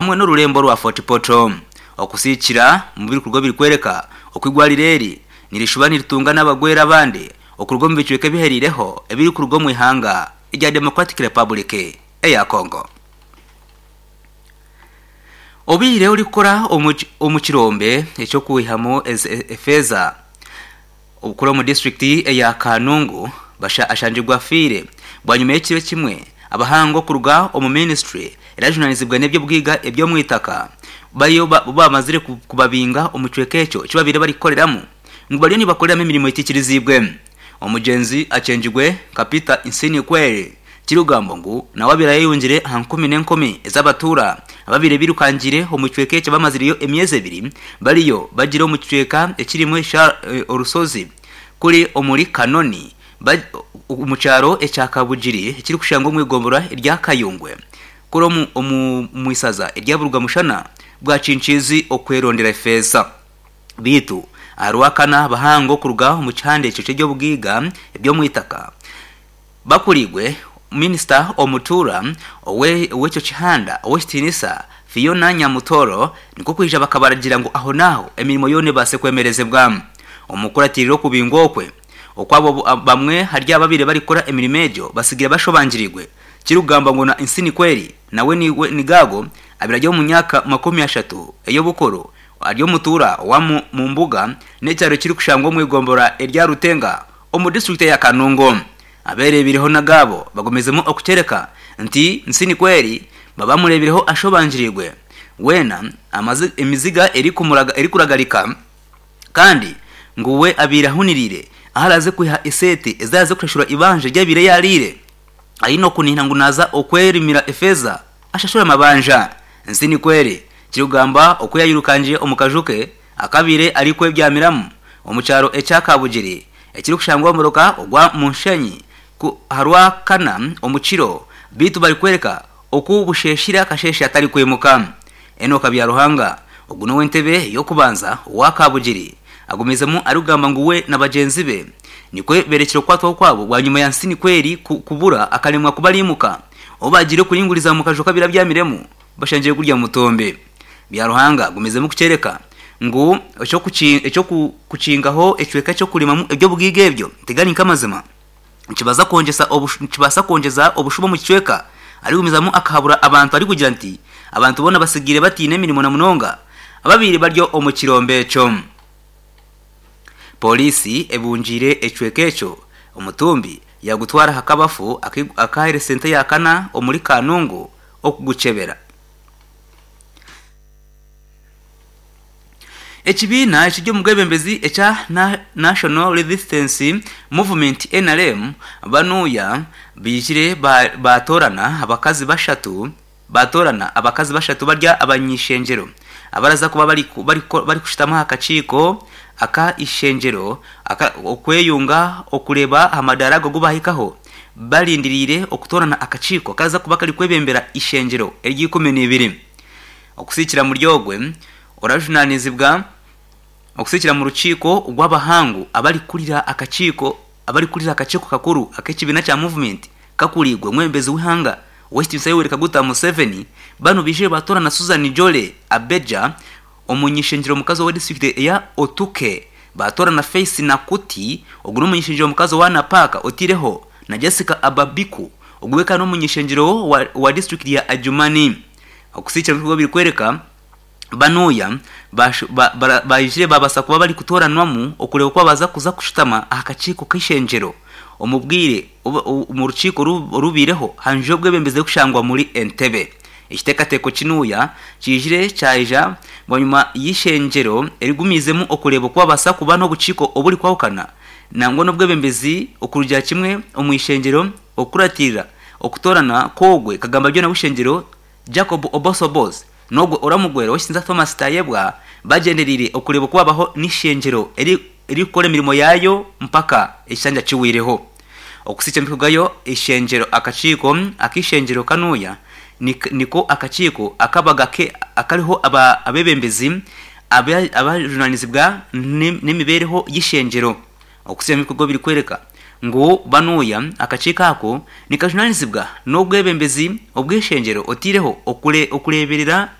hamwe n'orurembo rwa Fort Portal. Okusiikira omu birikuruga birikworeka oku eigwariro eri nirishuba niritunga n'abagwere abandi okuruga omu bicweka ebihereireho ebirikuruga omu ihanga erya Democratic Republic eya Congo. Obaire orikukora omu kirombe eky'okwihamu efeeza okukora omu disiturikiti eya Kanungu ashangirwe afiire bwanyima y'ekiro kimwe abahangu okuruga omu minisitule erajunanizibwa n'eby'obugaiga eby'omwitaka bariyo bamazire kubabinga omu kicweka ekyo eki babaire barikukoreramu ngu bariyo nibakoreramu emirimo etaikiriziibwe. Omugyenzi akyengirwe nka Peter Nsinikweri kirikugambwa ngu nawe abaire ayeyungire aha nkumi n'enkumi ez'abatuura ababaire birukangiire omu kicweka eki abamazireyo emyezi ebiri bariyo bagiire omu kicweka ekirimu orushozi kuri omuri Kanoni omu kyaro ekya Kabugiri ekirikushangwa omu igomborora erya Kayungwe kuri omu isaza erya Burugamushana bwa Kinkiizi okwerondera efeeza. Beitu aha Rwakana abahangu okuruga omu kihanda ekyo ky'eby'obugaiga eby'omu itaka bakuriirwe minisita omutuura ow'ekyo kihanda Ow'ekitiinisa Phiona Nyamutoro nikwo kwija bakabaragiira ngu ahonaaho emirimo yoona ebaase kwemerezibwa. Omu kukuratiirira okubingwa okwe okwabo bamwe ahari abo ababaire barikukora emirimo egyo batsigire bashobangiriirwe kirikugambwa ngu na Nsinikweri nawe Nigaago abaire ari omu myaka 30 ey'obukuru Ari omutuura owa Mumbuga n'ekyaro ekirikushangwa omu igomborora erya Rutenga omu disiturikiti eya Kanungu. Abeereebireho n'agaabo bagumizemu okukyereka nti Nsinikweri babamureebireho ashobangiriirwe weena emiziga erikuragarika kandi ngu we abaire ahuniriire ahu araaze kwiha eseete ezi araaze kushashura eibanja eri abaire yaariire aine okunihira ngu naaza okwerimira efeeza ashashure amabanja. Nsinikweri Kirikugamba oku yayirukangiire omu kaju ke akabaire arikwebyamiramu omu kyaro ekya Kabugiri ekirikushangwa omu muruka ogwa Munshenyi ku aharwakana omu kiro beitu barikworeka oku busheeshire akasheeshe atarikwimuka. Enock Byaruhanga ogu n'ow'entebe y'okubanza owa Kabugiri agumizemu arikugamba ngu we na bagyenzi be nikwo berekire okukwatwaho kwabo bwanyima ya Nsinikweri kubura akaremwa kubariimuka obu bagiire kuringuriza omu kaju kabaire abyamiremu. Bashangire gurya mutumbi. Byaruhanga agumizemu kukyereka ngu eky'okukingaho ekicweka ky'okurimamu eby'obugaiga ebyo tigari nk'amazima nikibaasa kwongyeza obushuba omu kicweka. Arikugumizamu akahabura abantu arikugira nti abantu boona batsigaire bataine mirimo na munonga ababaire bari omu kirombe ekyo. Pooriisi ebungiire ekicweka ekyo omutumbi yaagutwara aha kabafu aka health centre ya kana omuri Kanungu okugukyebera. Ekibiina ekiri omu bwebembezi ekya National Resistance Movement, nrm, banuya baijire baatoorana abakazi bashatu baatoorana abakazi bashatu bari abany'eishengyero abaraza kuba barikushutama aha kakiiko aka eishengyero okweyunga okureeba aha madaara ago agu baahikaho. Barindiriire okutoorana akakiiko akaraza kuba karikwebembera eishengyero ery'eikumi-n'eibiri. Okusiikira muri ogwe orajunaanizibwa okusiikira mu rukiiko rw'abahangu abarikurira akakiiko abarikurira akakiiko kakuru ak'ekibiina kya Movement kakuriirwe omwebembezi w'eihanga Ow'ekitiinisa Yoweri Kaguta Museveni, banu baijire baatoorana Susan Jolly Abeja Omuny'ishengyero omukazi owa disiturikiti eya Otuke baatoorana Faith Nakuti, ogu n'omuny'ishengyero omukazi owa Napak otaireho na Jessica Ababiku ogu we kandi n'omuny'ishengyero owa disiturikiti ya Adjumani. Okusiikira ebikorwa birikworeka banuya baijire babaasa kuba barikutooranwamu okureeba oku babaasa kuza kushutama aha kakiiko k'eishengyero omu bwire omu rukiiko orubaireho aha nju y'obwebembezi erikushangwa omuri Entebbe. Ekiteekateeko kinuya kiijire kyaija bwanyima y'eishengyero erigumiizemu okureeba oku babaasa kuba n'obukiiko oburikwahukana nangwa n'obwebembezi okurugira kimwe omu ishengyero okukuratiirira okutoorana kw'ogwe kagamba byona w'eishengyero Jacob Oboth-Oboth n'ogwe oramugwera ow'ekitinisa Thomas Tayebwa bagyendereire okureeba oku babaho n'eishengyero eririkukora emirimo yaayo mpaka ekishanja kiweireho. Okusiikya emikugayo eishengyero Akakiiko ak'eishengyero kanuya niko akakiiko akabaga akariho abeebembezi abajunaanizibwa n'emibeereho y'eishengyero. Okusiikya emikugo birikworeka ngu banuya akakiiko ako nikajunaanizibwa n'obwebembezi obw'eishengyero otaireho okureeberera.